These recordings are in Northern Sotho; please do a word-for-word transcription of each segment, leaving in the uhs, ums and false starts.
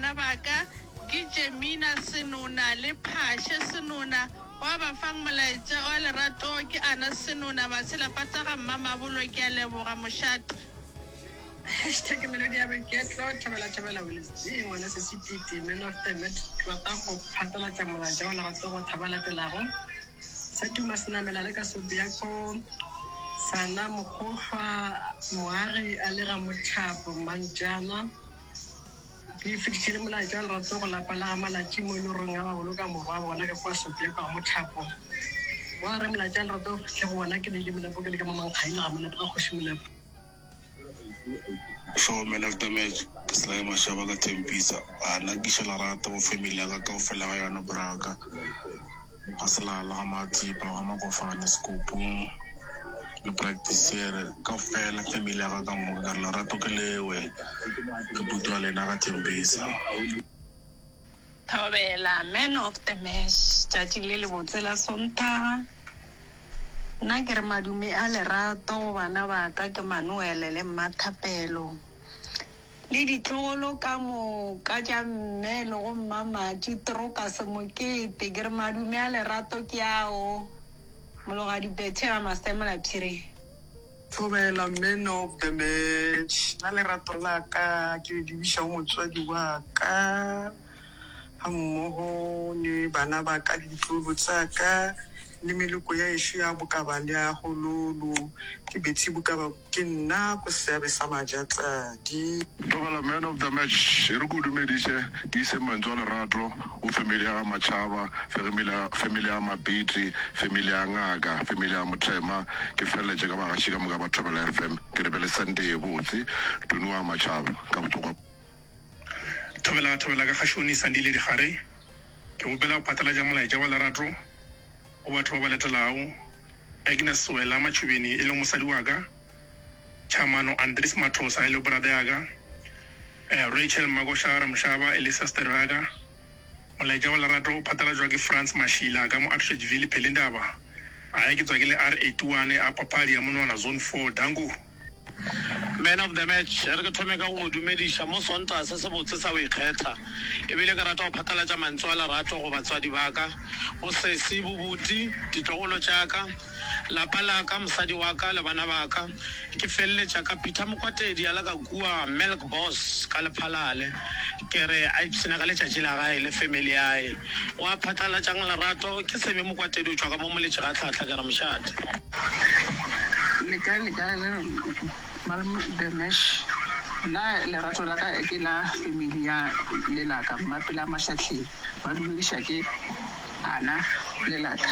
bana ba ka ke Jemina Senona le Phashe Senona. Wa ba fang molaetša wa lerato ke Ana Senona Matshela-pata ga Mmamabolo. Ke a leboga mošate. Hashtag Melodi ya Boiketlo, Thobela Thobela Willis G, Ngwana Sesi Titi, Man of the Match, Ke rata go phatlalatša molaetša wa lerato go thaba latelago, Sa tuma senamela le ka Sobiako, Sana Mokgohlwa, Moagi a le ga Mothapo, Mantšana. Ke fetišitše le molaetša wa lerato go lapa la ga Malatši mo e le goreng ga ba boloka morwa wa bona ka kua Sobiako ga Mothapo. Wa re molaetša wa lerato o fihle go bona ke le ile Molepo ke le ka mo Mankgaile ga Molepo ga Kgoši Molepo. Sure man of the match ke Sly Mashaba ka Tembisa a nna ke iša lerato go family ya ka kaofela ga yona braka ga Selala ga Mathipa ga Makofane Sekopong le Practice kaofela family ya ka ka moka ka re lerato ke lewe ke putu ya lena ka Tembisa. Thobela man of the match tšatši le lebotse la Sontaga. Nna ke re madume a lerato go bana ba ka ke Manuel le Mmathapelo le ditlogolo ka moka tša mme le go Mmamatši Trokas Mokete. Ke re madume a lerato ke ao. Mologadi Betty ga Masemola Phiri. Thobela man of the match. Nna lerato la ka ke le lebiša go motswadi wa ka ga mmogo le bana ba ka le ditlogolo tsa ka le meloko ya ešo ya Bokaba le ya Gololo. Ke Betty Bokaba ke nna ko seabe sa Majatladi. Thobela man of the match e re ke o dumediše ke ise mantswe a lerato go family ya ga Machaba, family ya Mapiti, family ya Ngaka, family ya Mothema, ke feleletše ka bagaši ka moka ba Thobela F M. Ke re be le Sunday ye botse. Tony wa Machaba ka botsokwa. Thobela Thobela ka kgašoni Sandile Dikgare. Ke gopela go phatlalatša molaetša wa lerato go batho ba ba latelago, Agnes Wela Matšhubeni e lego mosadi wa ka, Chamano Andries Mathosa e lego brother ya ka, Rachel Makoša Ramshaba e le sister ya ka. Molaetša wa lerato o phatlalatšwa ke Frans Mashila ka mo Atteridgeville, Pelindaba. Ae ke tswa ke le R eighty one a papadi ya monwana Zone four. Danko. Man of the match, e re ke thome ka go go dumediša mo Sontaga se sebotse sa go ikgetha. E bile ke rata go phatlalatša mantšu a lerato go batswadi ba ka, go sesi, bobuti, ditlogolo tša ka, lapa la ka, mosadi wa ka le bana ba ka. Ke feleletša ka Peter Mokwatedi a le ka kua Melk Boss ka Lephalale. Ke re a ipshina ka letšatši la gae le family yae. Wa phatlalatšang lerato ke Sebe Mokwatedi o tšwa ka mo Moletši ga Tlhahla ke re mošate. Le kae le kae le malome the mesh nna lerato la ka ke la family ya lelaka mmapela Mashahleng ba dumediša ke Ana lelaka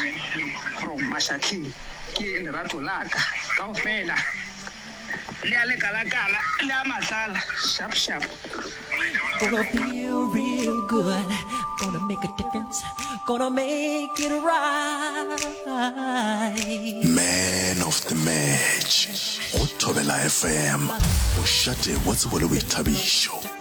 from Mashahleng ke lerato la ka kaofela le a lekalakala le a matlala sharp sharp. Gonna feel real good, gonna make a difference, gonna make it right. Man of the match go Thobela F M, mošate wa tsebo le boithabišo.